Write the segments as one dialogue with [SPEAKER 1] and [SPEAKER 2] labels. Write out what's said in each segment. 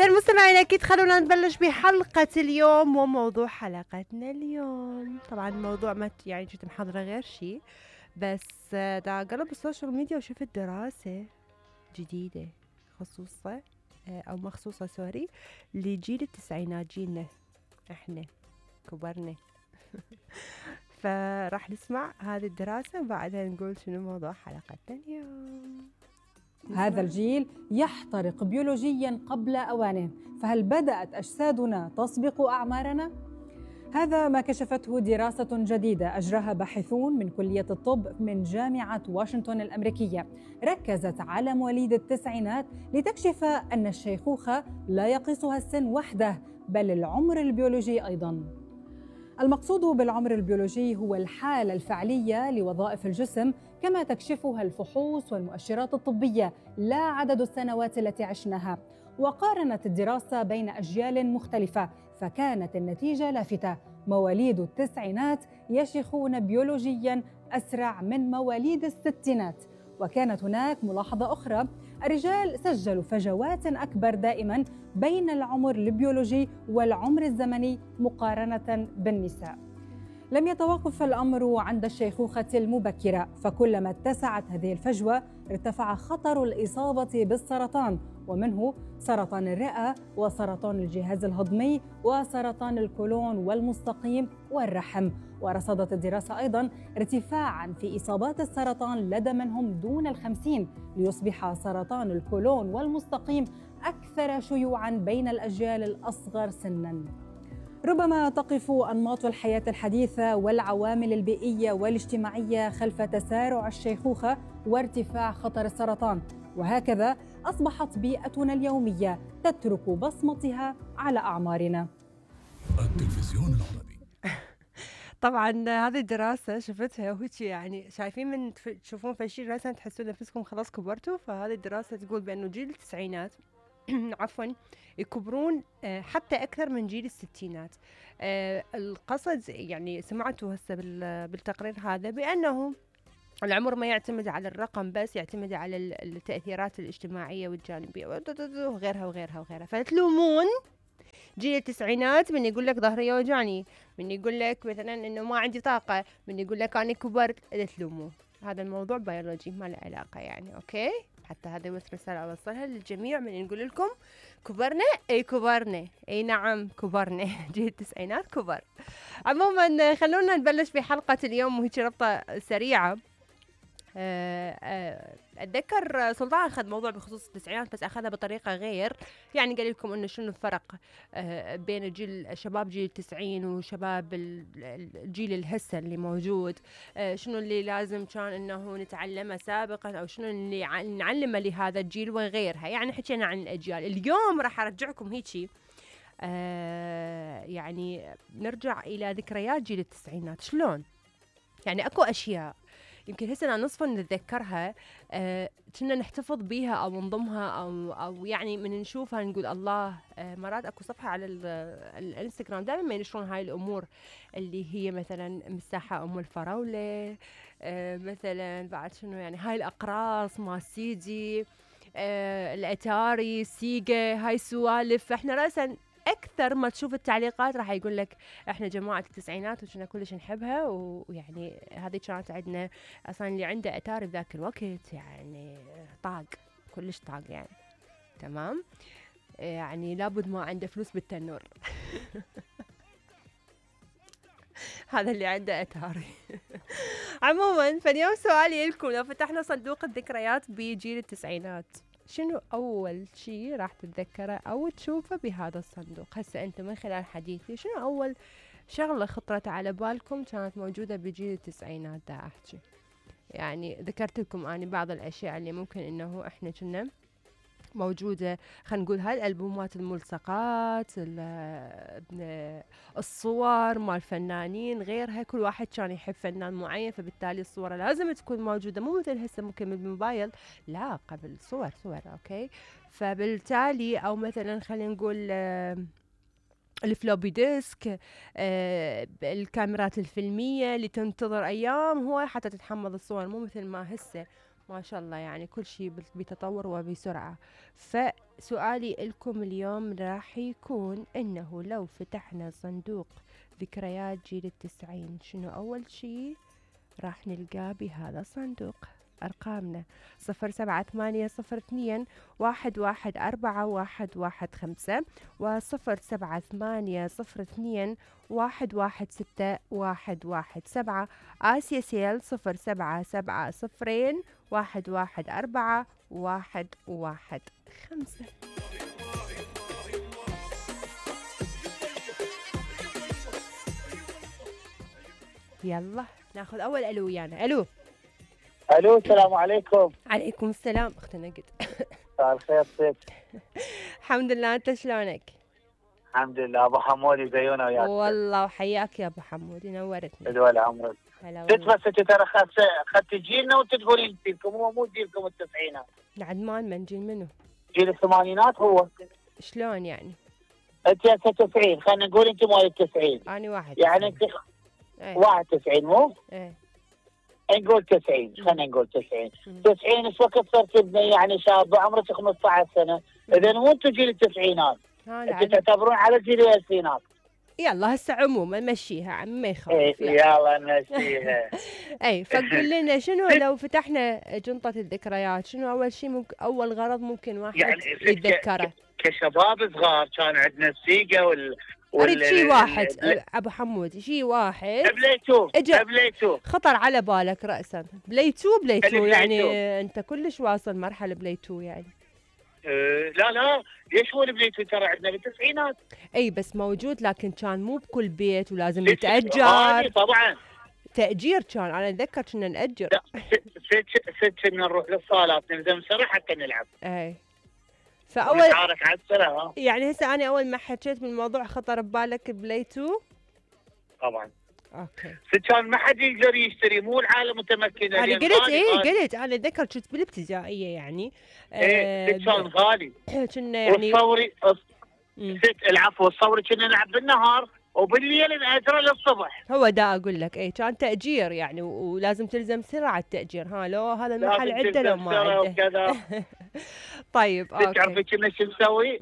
[SPEAKER 1] إذا المستمعين أكيد خلونا نبلش بحلقة اليوم. وموضوع حلقتنا اليوم طبعا الموضوع ما يعني كنت محضرة غير شيء، بس دا قلب السوشيال ميديا وشفت دراسة جديدة خصوصا أو مخصوصة سوري لجيل التسعينات، جيلنا احنا كبرنا. فراح نسمع هذه الدراسة وبعدها نقول شنو موضوع حلقتنا اليوم.
[SPEAKER 2] هذا الجيل يحترق بيولوجياً قبل أوانه، فهل بدأت أجسادنا تسبق أعمارنا؟ هذا ما كشفته دراسة جديدة أجراها باحثون من كلية الطب من جامعة واشنطن الأمريكية، ركزت على مواليد التسعينات لتكشف أن الشيخوخة لا يقيسها السن وحده بل العمر البيولوجي أيضاً. المقصود بالعمر البيولوجي هو الحالة الفعلية لوظائف الجسم كما تكشفها الفحوص والمؤشرات الطبية، لا عدد السنوات التي عشناها. وقارنت الدراسة بين أجيال مختلفة، فكانت النتيجة لافتة: مواليد التسعينات يشيخون بيولوجياً أسرع من مواليد الستينات. وكانت هناك ملاحظة أخرى: الرجال سجلوا فجوات أكبر دائماً بين العمر البيولوجي والعمر الزمني مقارنة بالنساء. لم يتوقف الأمر عند الشيخوخة المبكرة، فكلما اتسعت هذه الفجوة ارتفع خطر الإصابة بالسرطان، ومنه سرطان الرئة وسرطان الجهاز الهضمي وسرطان الكولون والمستقيم والرحم. ورصدت الدراسة أيضاً ارتفاعاً في إصابات السرطان لدى من هم دون 50، ليصبح سرطان الكولون والمستقيم أكثر شيوعاً بين الأجيال الأصغر سناً. ربما تقف أنماط الحياة الحديثة والعوامل البيئية والاجتماعية خلف تسارع الشيخوخة وارتفاع خطر السرطان، وهكذا أصبحت بيئتنا اليومية تترك بصمتها على أعمارنا.
[SPEAKER 3] التلفزيون العربي.
[SPEAKER 1] طبعا هذه الدراسة شفتها وهيك يعني شايفين من تشوفون فشي راسا تحسون نفسكم خلاص كبرتوا. فهذه الدراسة تقول بأنه جيل التسعينات عفوا يكبرون حتى أكثر من جيل الستينات. القصد يعني سمعتوا هسه بالتقرير هذا بأنه العمر ما يعتمد على الرقم بس، يعتمد على التأثيرات الاجتماعية والجانبية وغيرها وغيرها وغيرها. فتلومون جيل التسعينات من يقول لك ظهري يوجعني، من يقول لك مثلا انه ما عندي طاقة، من يقول لك انا كبرت. اذا تلوموه هذا الموضوع بيولوجي ما له علاقة يعني. اوكي، حتى هذا بس رسالة اوصلها للجميع من نقول لكم كبرنا. اي كبرنا، اي نعم كبرنا. جيل التسعينات كبر. عموما خلونا نبلش بحلقة اليوم وهيك ربطة سريعة. أتذكر سلطان أخذ موضوع بخصوص التسعينات بس أخذها بطريقة غير، يعني قال لكم إنه شنو الفرق بين شباب جيل 90 وشباب الجيل الهسه اللي موجود، شنو اللي لازم كان إنه نتعلمه سابقا أو شنو اللي نعلمه لهذا الجيل وغيرها. يعني حكينا عن الأجيال. اليوم راح أرجعكم هيجي يعني نرجع إلى ذكريات جيل التسعينات. شلون يعني أكو أشياء يمكن هسه نصفا نتذكرها، كنا نحتفظ بيها او نضمها او يعني من نشوفها نقول الله. مرات اكو صفحه على الانستغرام دائما ما ينشرون هاي الامور اللي هي مثلا مساحه ام الفراوله، مثلا بعد شنو يعني هاي الاقراص مال سيدي، الاتاري، سيجا، هاي السوالف. فاحنا راسا اكثر ما تشوف التعليقات راح يقول لك احنا جماعه التسعينات وكنا كلش نحبها، ويعني هذه كانت عندنا اصلا اللي عنده اتاري بذاك الوقت يعني طاق، كلش طاق يعني. تمام، يعني لابد ما عنده فلوس بالتنور. هذا اللي عنده اتاري. عموما فاليوم سؤالي لكم: لو فتحنا صندوق الذكريات بجيل التسعينات شنو أول شيء راح تتذكره أو تشوفه بهذا الصندوق؟ هسه أنتم من خلال حديثي شنو أول شغلة خطرت على بالكم كانت موجودة بجيل التسعينات؟ دا أحكي يعني ذكرت لكم أنا بعض الأشياء اللي ممكن إنه إحنا كنا موجودة. خلينا نقول هاي الألبومات، الملصقات، الصور مال الفنانين غيرها. كل واحد كان يحب فنان معين فبالتالي الصورة لازم تكون موجودة، مو مثل هسه ممكن بالموبايل، لا قبل صور. أوكي، فبالتالي أو مثلا خلينا نقول الفلوبي ديسك، الكاميرات الفيلمية اللي تنتظر أيام هو حتى تتحمل الصور، مو مثل ما هسه ما شاء الله يعني كل شيء بتطور وبسرعة. سؤالي لكم اليوم راح يكون إنه لو فتحنا صندوق ذكريات جيل التسعين، شنو أول شي راح نلقاه بهذا الصندوق؟ أرقامنا 0782114115 و0782116117. آسيا سيل 0770114115. يلا ناخذ أول ألو ويانا. ألو.
[SPEAKER 4] الو السلام عليكم.
[SPEAKER 1] عليكم السلام أختنا قد.
[SPEAKER 4] مساء الخير ست.
[SPEAKER 1] الحمد لله، أنت شلونك؟
[SPEAKER 4] الحمد لله. ابو حمودي زيونا وياك.
[SPEAKER 1] والله وحياك يا أبو حمود، نورتني.
[SPEAKER 4] دول عمرك.
[SPEAKER 1] هلا
[SPEAKER 4] ست
[SPEAKER 1] والله.
[SPEAKER 4] بس انت ترى اخذت جيلنا وانت تقولين جيلكم، هو مو جيلكم التسعينات.
[SPEAKER 1] عدمان من جيل منو؟
[SPEAKER 4] جيل الثمانينات هو.
[SPEAKER 1] شلون يعني؟
[SPEAKER 4] انت هسه 90، خلينا نقول انت مال التسعين.
[SPEAKER 1] أنا واحد
[SPEAKER 4] يعني انت
[SPEAKER 1] ايه.
[SPEAKER 4] 91 مو؟
[SPEAKER 1] ايه.
[SPEAKER 4] نقول 90، خلينا نقول 90. 90 ايش وقت صرت ابني يعني شاب عمرك 15 سنه، اذا مو انتم جيل التسعينات، انتم تعتبرون على جيل الالفينات.
[SPEAKER 1] يلا هسه عموما مشيها عم ما يخالف.
[SPEAKER 4] ايه يلا نمشيها.
[SPEAKER 1] اي فقول لنا شنو لو فتحنا جنطة الذكريات، شنو اول شيء اول غرض ممكن واحد
[SPEAKER 4] يعني
[SPEAKER 1] يتذكره؟
[SPEAKER 4] كشباب صغار كان عندنا السيجا
[SPEAKER 1] اريد شيء واحد ابو حمود، شيء واحد
[SPEAKER 4] بليتو
[SPEAKER 1] خطر على بالك رأسا. بليتو يعني انت كلش واصل مرحلة بليتو يعني.
[SPEAKER 4] لا ليش هو البليتو ترى عندنا بالتسعينات.
[SPEAKER 1] اي بس موجود، لكن كان مو بكل بيت ولازم يتأجر.
[SPEAKER 4] طبعا
[SPEAKER 1] تأجير كان، انا اتذكر كنا نأجر.
[SPEAKER 4] ست كنا نروح للصالات نلزم سرة حتى نلعب.
[SPEAKER 1] اي فاول
[SPEAKER 4] نتعارك على السرة.
[SPEAKER 1] يعني هسه انا اول ما حكيت بالموضوع خطر ببالك بليتو.
[SPEAKER 4] طبعا.
[SPEAKER 1] اوكي.
[SPEAKER 4] كان ما حد يقدر يشتري، مو العالم متمكنه.
[SPEAKER 1] انا قلت انا اتذكر كنت بالابتدائيه يعني.
[SPEAKER 4] كان غالي.
[SPEAKER 1] كنا يعني
[SPEAKER 4] والصوري العفو الصوري كنا نلعب بالنهار وبالليل نأجره للصبح.
[SPEAKER 1] هو دا اقول لك اي كان تأجير يعني، ولازم تلزم سرعة التأجير. لو هذا المحل عنده لو ما عنده. طيب اوكي.
[SPEAKER 4] تعرفي كنا شو نسوي؟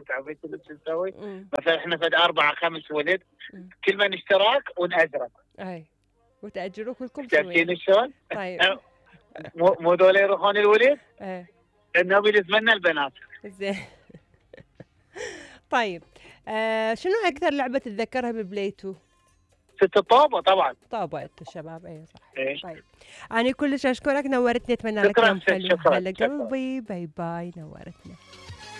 [SPEAKER 4] تعرفي كنا شو نسوي؟ مثلا احنا فد 4 5 ولد، كل من اشتراك ونأجره.
[SPEAKER 1] اي وتأجروا كلكم
[SPEAKER 4] شايفين شلون؟
[SPEAKER 1] طيب.
[SPEAKER 4] مو دول يروحون الولد؟
[SPEAKER 1] ايه.
[SPEAKER 4] النبي يلزمنا البنات.
[SPEAKER 1] زين. طيب شنو اكثر لعبه تتذكرها ببليتو؟
[SPEAKER 4] ست الطابه طبعا.
[SPEAKER 1] طابه الشباب اي صح.
[SPEAKER 4] إيه؟
[SPEAKER 1] طيب انا كلش اشكرك، نورتني، اتمنى لك يوم حلو.
[SPEAKER 4] شكرا.
[SPEAKER 1] هلا قلبي، باي باي، نورتنا.